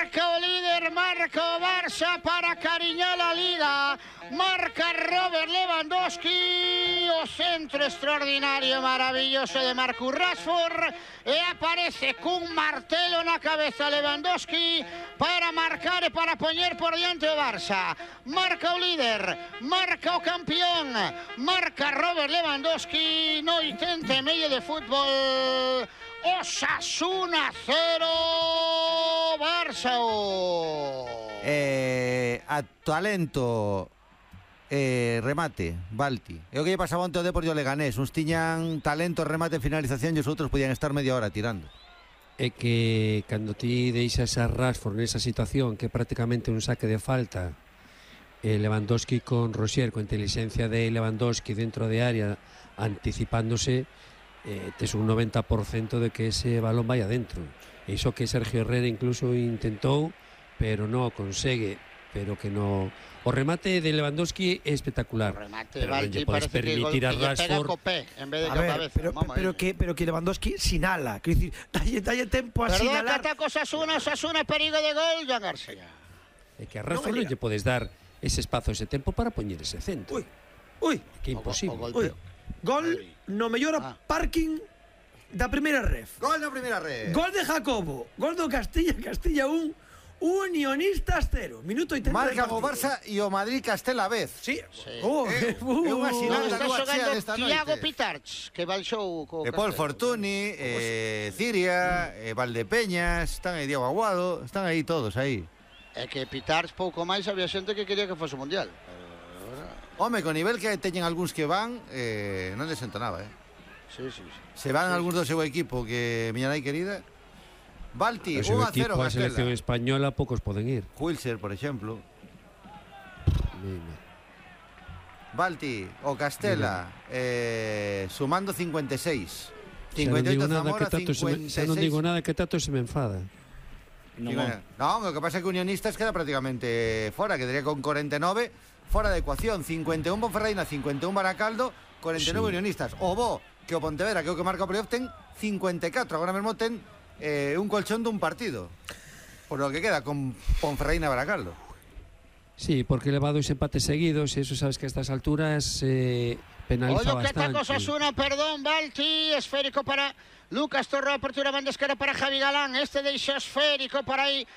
Marca o líder, marca o Barça para cariñar a Liga. Marca Robert Lewandowski, o centro extraordinario, maravilloso de Marcus Rashford, e aparece cun martelo na cabeza Lewandowski para marcar e para poñer por diante o Barça. Marca o líder, marca o campeón, marca Robert Lewandowski no 80 e medio de fútbol. Osasuna 0, Barça 1. A talento remate, Balti. É o que lle pasaba onte ao Deportivo Leganés. Uns tiñan talento, remate, finalización e os outros podían estar media hora tirando. É que cando ti deixas a Rashford nesa situación que é prácticamente un saque de falta, Lewandowski con Rosier, con inteligencia de Lewandowski dentro de área anticipándose, tes un 90% de que ese balón vai adentro. Iso que Sergio Herrera incluso intentou, pero non o consegue. Pero que no... O remate de Lewandowski é espectacular. O remate, pero non lle podes permitir a Rashford. En vez de cabeza. Pero que Lewandowski sinala. Quer dicir, dalle tempo a Perdón, sinalar. que ataca Osasuna, perigo de gol, Joan García. É que a Rashford non lle podes dar ese espazo, ese tempo para poñer ese centro. Ui, que imposible. Gol no mellor parking da primeira ref. Gol na primeira ref. Gol de Jacobo. Gol do Castilla 1. Unionistas 0, minuto 80. Marca o Barça e o Madrid Castela a vez. Sí. É unha sinal da Está rúa chea xogando desta Thiago noite. Pitarch, que baixou co Paul Fortuny, Ciria, Valdepeñas, están aí Diego Aguado, están aí todos aí. É que Pitarch pouco máis había xente que quería que fose o Mundial. Home, con nivel que teñen algúns que van, non desentonaba, Sí. Se van algúns do seu equipo que miña nai querida. Balti, 1-0 O seu equipo, a Castela. selección española, poucos poden ir. Wilser, por exemplo. Balti, o Castela, sumando 56. 58 Zamora, 56. Xa non digo nada, que tanto se me enfada. Non, o que pasa é que Unionistas queda prácticamente fora, quedaría con 49 fora de ecuación. 51 Ponferradina, 51 Baracaldo, 49 Unionistas. O bo que o Pontevedra, que é o que marca o playoff, ten 54. Agora mesmo ten un colchón dun partido, por lo que queda con Ponferradina e Baracaldo. Sí, porque leva 2 empates seguidos e eso sabes que a estas alturas penaliza Ollo que bastante. ataca Osasuna, perdón, Balti, esférico para Lucas Torre, apertura banda esquerda para Javi Galán, este deixa esférico para aí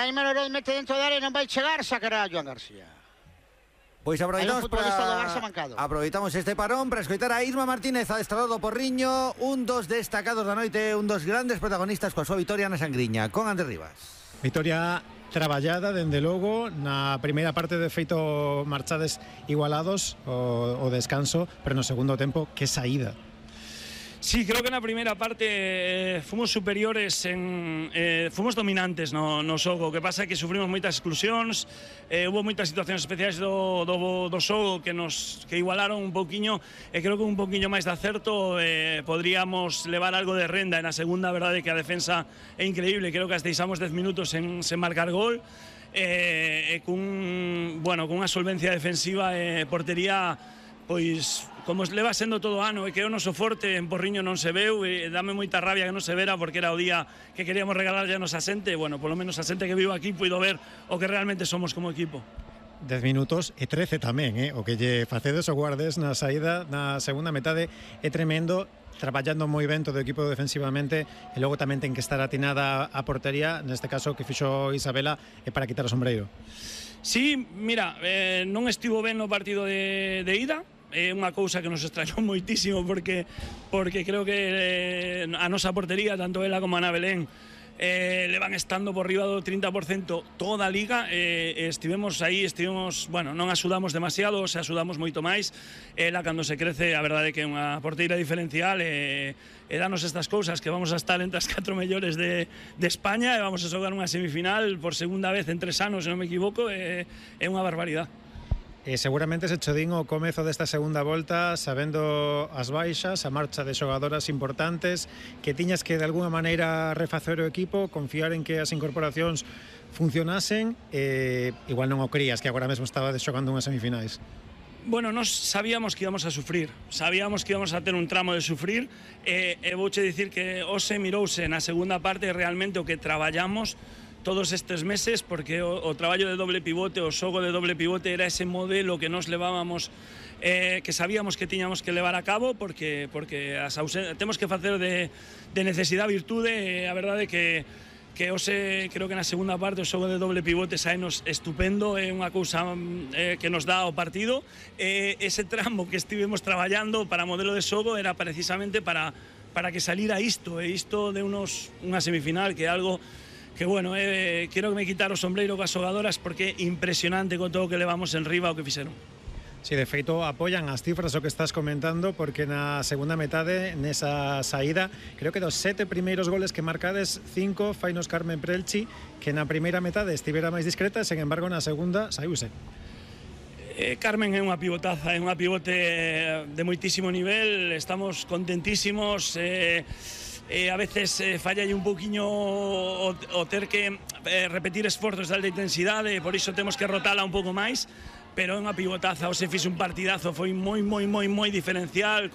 Melorón, mete dentro da área, non vai chegar, sacará Joan García. Pois aproveitamos aproveitamos este parón para escoitar a Isma Martínez, adestrado do Porriño, un dos destacados da noite, un dos grandes protagonistas coa súa vitoria na Sangriña, con Andrés Rivas. Vitoria traballada, dende logo, na primeira parte de feito marchades igualados o descanso, pero no segundo tempo, que saída. Sí, creo que na primeira parte fomos superiores, fomos dominantes no xogo. O que pasa é que sufrimos moitas exclusións, hubo moitas situacións especiais do xogo que igualaron un pouquiño, e creo que un pouquiño máis de acerto podríamos levar algo de renda. En a segunda, a verdade é que a defensa é increíble, creo que as deixamos 10 minutos sen marcar gol, cunha solvencia defensiva e portería, pois como leva sendo todo o ano, e que é o noso forte, en Porriño non se veu, e dame moita rabia que non se vera, porque era o día que queríamos regalarlle a nosa xente, e, polo menos a xente que vivo aquí puido ver o que realmente somos como equipo. 10 minutos e 13 tamén, o que lle facedes o guardes na saída na segunda metade é tremendo, traballando moi ben todo o equipo defensivamente, e logo tamén ten que estar atinada a portería, neste caso que fixo Isabela, é para quitar o sombreiro. Sí, mira, non estivo ben no partido de ida. É unha cousa que nos extrañou moitísimo porque creo que a nosa portería, tanto ela como Ana Belén, le van estando por riba do 30% toda a liga, estivemos aí, non axudamos demasiado, se axudamos moito máis. Ela, cando se crece, a verdade é que é unha porteira diferencial, e danos estas cousas, que vamos a estar entre as 4 mellores de España, e vamos a xogar unha semifinal por segunda vez en 3 anos, se non me equivoco, é unha barbaridade. Seguramente se chodín o comezo desta segunda volta sabendo as baixas, a marcha de xogadoras importantes, que tiñas que de alguna maneira refacer o equipo, confiar en que as incorporacións funcionasen, igual non o crías, que agora mesmo estaba xogando unhas semifinais. Bueno, nos sabíamos que íbamos a sufrir, sabíamos que íbamos a ter un tramo de sufrir, e vouche dicir que hoxe mirouse na segunda parte realmente o que traballamos todos estes meses, porque o traballo de doble pivote, o xogo de doble pivote era ese modelo que nos levábamos, que sabíamos que tiñamos que levar a cabo, porque temos que facer de necesidade virtude. A verdade que hoxe, creo que na segunda parte o xogo de doble pivote saenos estupendo, é unha cousa que nos dá o partido. Ese tramo que estivemos traballando para modelo de xogo era precisamente para que salira isto, e isto de unha semifinal, que é algo que, bueno, quero que me quitar o sombreiro coas xogadoras, porque é impresionante con todo o que levamos en riba o que fixeron. Sí, de feito apoyan as cifras o que estás comentando, porque na segunda metade, nesa saída, creo que dos 7 primeiros goles que marcades, 5 fainos Carmen Prelchi, que na primeira metade estivera máis discreta, sen embargo na segunda saiuse. Carmen é unha pivotaza, é unha pivote de moitísimo nivel, estamos contentísimos. A veces falla un pouquiño o ter que repetir esforzos de alta intensidade, por iso temos que rotala un pouco máis, pero é unha pivotaza. Hoxe fixe un partidazo, foi moi diferencial,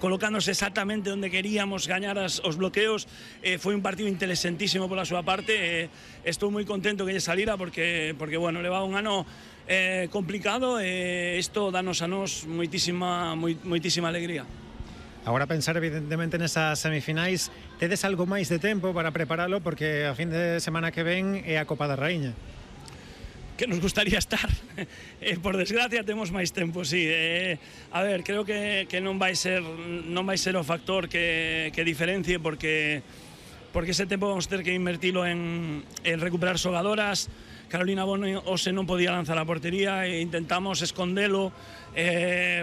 colocándose exactamente onde queríamos gañar os bloqueos. Foi un partido interesantísimo pola súa parte. Estou moi contento que lle salira, porque bueno, levaba un ano complicado, e isto danos a nos moitísima alegría. Agora pensar evidentemente nesas semifinais, tedes algo máis de tempo para preparalo, porque a fin de semana que ven é a Copa da Raíña. Que nos gustaría estar. Por desgracia temos máis tempo, sí. A ver, creo que non vai ser o factor que diferencie, porque ese tempo vamos ter que invertilo en recuperar xogadoras. Carolina Bono hoxe non podía lanzar a portería, e intentamos escondelo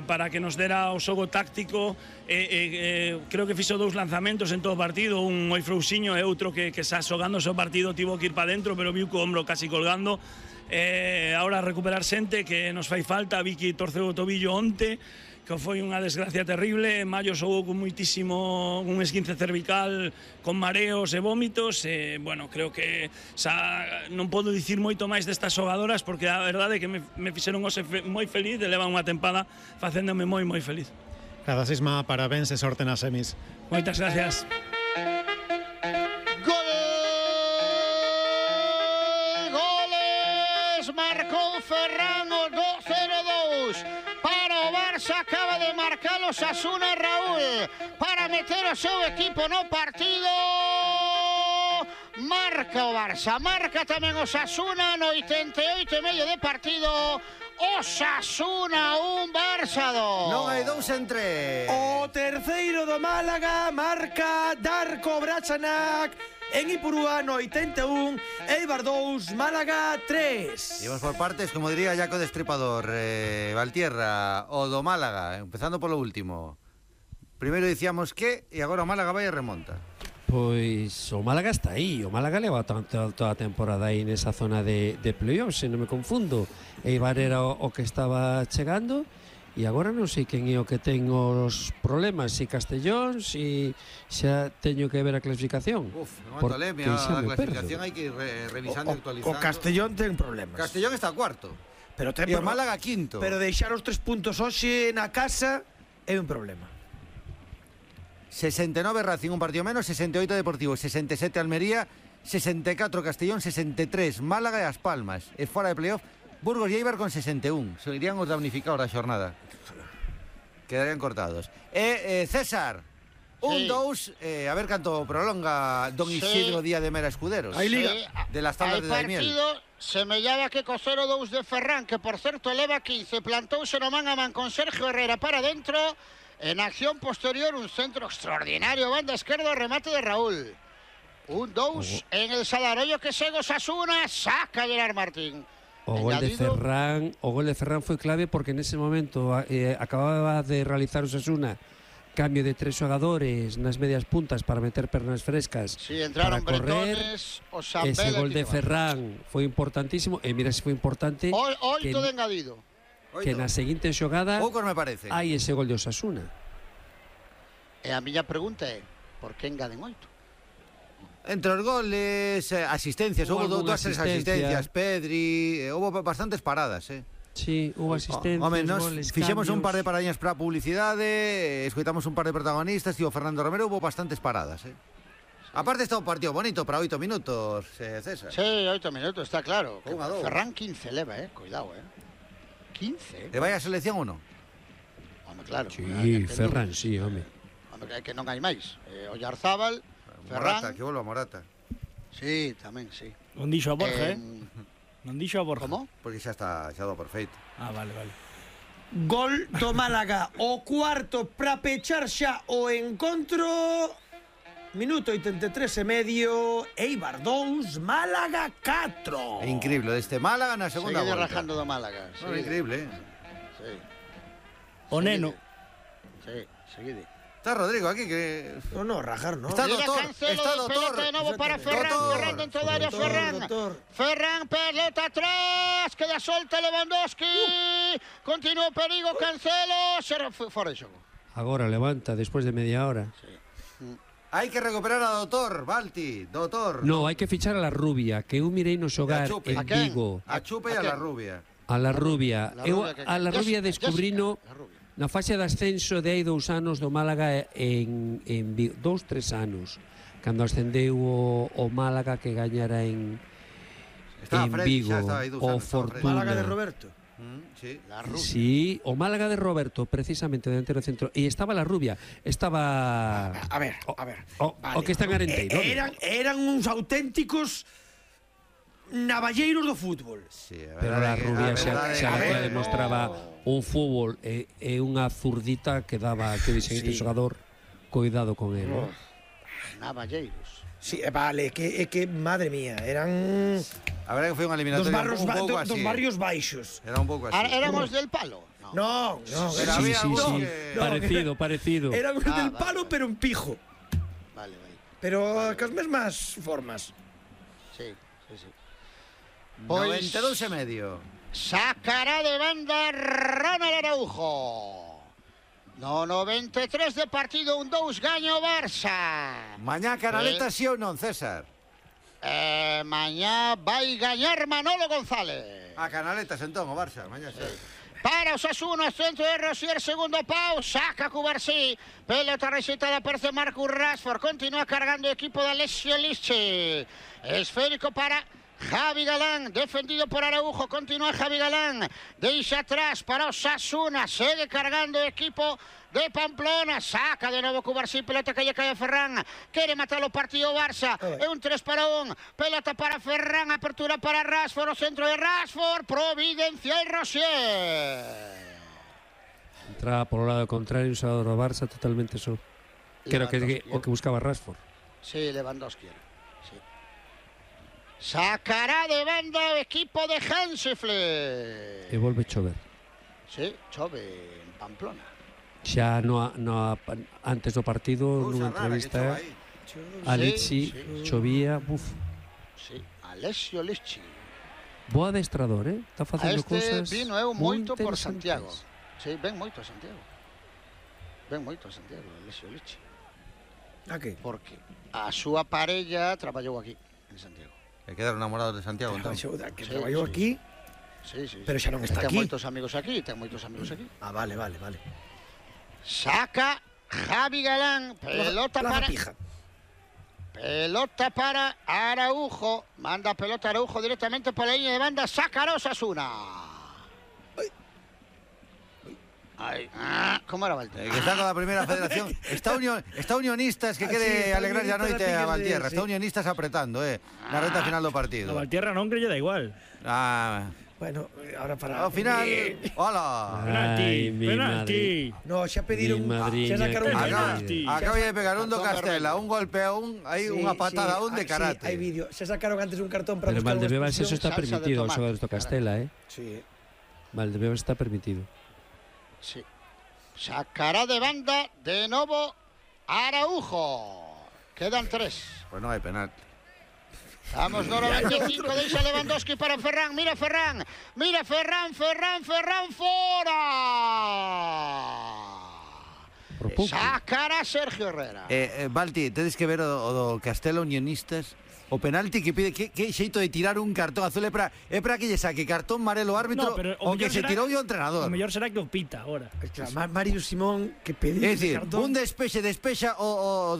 para que nos dera o xogo táctico. Creo que fixo 2 lanzamentos en todo o partido, un moi frouxiño e outro que xa xogando o partido tivo que ir para dentro, pero viu co ombro casi colgando. Ahora recuperar xente que nos fai falta. Vicky torceu o tobillo onte, que foi unha desgracia terrible. Mayo xogou con moitísimo, un esguince cervical, con mareos e vómitos. Bueno, creo que xa non podo dicir moito máis destas xogadoras, porque a verdade é que me fixeron hoxe moi feliz, e levan unha tempada facéndome moi feliz. Cada Sisma, parabéns e sorte nas semis. Moitas gracias. Goles, marcou Ferran o 2-0-2. Para o Barça, acaba de marcar o Osasuna, Raúl, para meter o seu equipo no partido. Marca o Barça, marca tamén o Osasuna no 88,5 de partido. Osasuna 1, Barça 2. Non hai 2 en 3. O terceiro do Málaga marca Darko Bračanak en Ipurúa no 81, Eibar 2, Málaga 3. Llevamos por partes, como diría Jaco Destripador. Valtierra, o do Málaga, empezando polo último. Primeiro dicíamos que, e agora o Málaga vai e remonta. Pois o Málaga está aí, o Málaga leva toda a temporada aí nesa zona de playoffs, se non me confundo. Eibar era o que estaba chegando, e agora non sei quen é o que ten os problemas, se Castellón, se xa teño que ver a clasificación. Non atoleme, a clasificación hai que ir revisando e actualizando. O Castellón ten problemas. Castellón está cuarto, Pero e o Málaga quinto. Pero deixar os 3 puntos hoxe na casa é un problema. 69 Racing, un partido menos, 68 Deportivo, 67 Almería, 64 Castellón, 63 Málaga e As Palmas. E fora de playoff, Burgos e Eibar con 61. Serían os damnificados da xornada. Quedarían cortados. César, 1-2, a ver canto prolonga Don Isidro Díaz de Mera Escuderos. Hai liga. De las tablas de Daimiel. Partido semellaba que co 0-2 de Ferran, que por certo leva 15, plantouse no man a man con Sergio Herrera para dentro. En acción posterior, un centro extraordinario, banda esquerda, remate de Raúl. 1-2 en el Salarollo, que segue Osasuna, saca Gerard Martín. O gol de Ferran foi clave, porque nese momento acababa de realizar o Osasuna cambio de 3 xogadores nas medias puntas para meter pernas frescas, sí, entraron para correr. Ese gol de Ferran foi importantísimo, e mira se foi importante oito de engadido, que na seguinte xogada poucos me parece hai ese gol de Osasuna. E a miña pregunta é, por que engaden 8? Entre os goles, asistencias, houve 2 asistencias, Pedri, houve bastantes paradas, Sí, houve asistencias, goles, fixemos cambios. un par de paradiñas para a publicidade, escoitamos un par de protagonistas, e o Fernando Romero houve bastantes paradas, Aparte está un partido bonito para 8 minutos, César. Sí, 8 minutos, está claro. Un a dos. Ferran 15 leva, cuidado, 15. ¿Le vaya a selección o no? Home, claro. Sí, Ferran, sí, home. Home, que non hai máis. Oyarzábal, Morata, Ferran. que vuelva Morata. Sí, tamén, sí. Non dixo a Borja, Non dixo a Borja. Como? Porque xa está xa do perfeito. Ah, vale. Gol do Málaga, o cuarto para pechar xa o encontro. Minuto 83 e medio, Eibar 2, Málaga 4. É increíble, deste Málaga na segunda Seguide volta. rajando do Málaga. No, increíble, Sí. O neno. Sí, seguide. Está Rodrigo aquí que... No, rajar, no. Está Mira, doctor, Cancelo, está pelota doctor. de nuevo para Ferran, Doctor. Ferran dentro del área, Ferran. Ferran, pelota atrás, queda solta Lewandowski. Continúa o perigo, Cancelo, será fora de xogo. Agora levanta, despois de media hora. Hai que recuperar a Doutor, Balti, Doutor. No, hai que fichar a la Rubia, que eu mirei no xogar E a Chupe. en A quen? Vigo. A Chupe e a la Rubia. A la Rubia. Eu a la Rubia Jessica, descubrino la Rubia. na fase de ascenso de hai 2 anos do Málaga en Vigo, 2-3 anos, cando ascendeu o Málaga que gañara en Estaba Freddy, Vigo, xa estaba aí 2 o anos, estaba Freddy. Fortuna. Málaga de Roberto. Sí. La Rubia. Sí, o Málaga de Roberto, precisamente delantero centro, e estaba la Rubia, estaba A ver. o que está en Arenteiro. Eran uns auténticos navalleiros do fútbol. Sí, a Pero la Rubia verdade xa que- demostraba un fútbol e unha zurdita que daba que dixen este xogador, cuidado con él. Navalleiros. Sí, vale, que madre mía, eran A verdade que foi unha dos eliminatoria barrios, un pouco así. dos barrios baixos. Era un pouco así. Éramos del palo. No, Pero Sí, había sí, uno sí, que- parecido. eran Ah, del vale, palo, vale. pero un pijo. Vale. Pero cas mesmas formas. Sí. 92 e medio. Sacará de banda Ronald Araujo. No 93 de partido, un 2 gaño Barça. Mañá Canaleta sí ou non, César? Mañá vai gañar Manolo González. A Canaletas entón, o Barça, mañá sí. Para Osasuna, centro de Rosier, segundo pau, saca Cubarsí, pelota recitada perce Marcus Rashford, continúa cargando el equipo de Alessio Lisci, esférico para Javi Galán, defendido por Araujo, continúa Javi Galán, deixa atrás para Osasuna, sigue cargando el equipo de Pamplona, saca de nuevo Cubarsí, pelota que lle cae a Ferran, quere matar o partido Barça, é un 3-1, pelota para Ferran, apertura para Rashford, o centro de Rashford, Providencia e Rosier. Entraba polo lado contrario, un xogador do Barça totalmente só. Creo que o que buscaba Rashford. Sí, Lewandowski. Sí. Sacará de banda o equipo de Hansi Flick. E volve chover. Sí, chove en Pamplona. Xa antes do partido, nunha entrevista, a Litsi chovía, Sí, Alessio Lisci. Bo adestrador, está facendo cousas vino eu moito por interesantes. Santiago. Sí, ven moito a Santiago. Alessio Lisci. A que? Porque a súa parella traballou aquí, en Santiago. E quedaron enamorados de Santiago entón. Que Sí, traballou sí. aquí. Sí. Pero xa non está Ten aquí. moitos amigos aquí, Ah, vale. Saca Javi Galán, pelota Plaza para... Pija. Pelota para Araujo. Manda pelota Araujo directamente por la línea de banda. Saca a Osasuna. Ay. ¿Cómo era Valtteri? Que está con la primera federación. Está Unionistas que quere alegrar a noite a Valtierra. Está Unionistas apretando, na reta final do partido. A Valtierra non que lle da igual. Bueno, ahora para... Ao final, hola. Ay, mi Penalti. No, xa pediron... Mi madriña, xa sacaron que penalti. Acaba de pegar un do Castela, un golpe a un, aí unha patada a un de karate. Sí, hai vídeo. Xa sacaron antes un cartón para Pero buscar unha Valdebebas eso expulsión. está salsa de permitido, os tomate. xogadores do Castela, Sí. Valdebebas está permitido. Sí. Sacará de banda de nuevo Araujo. Quedan 3. Pues non hai penalti. Vamos, no 95, deixa Lewandowski para Ferran. Mira Ferran, fora. Por pouco. Sacará Sergio Herrera. Balti, tedes que ver o do Castela Unionistas. O penalti que pide, que xeito de tirar un cartón azul é para que lle saque cartón marelo o árbitro, No, pero o que mellor se será- tirou o entrenador. O mellor será que o pita ahora. Claro, Mario Simón que pediu É ese dicir, cartón. un despexa o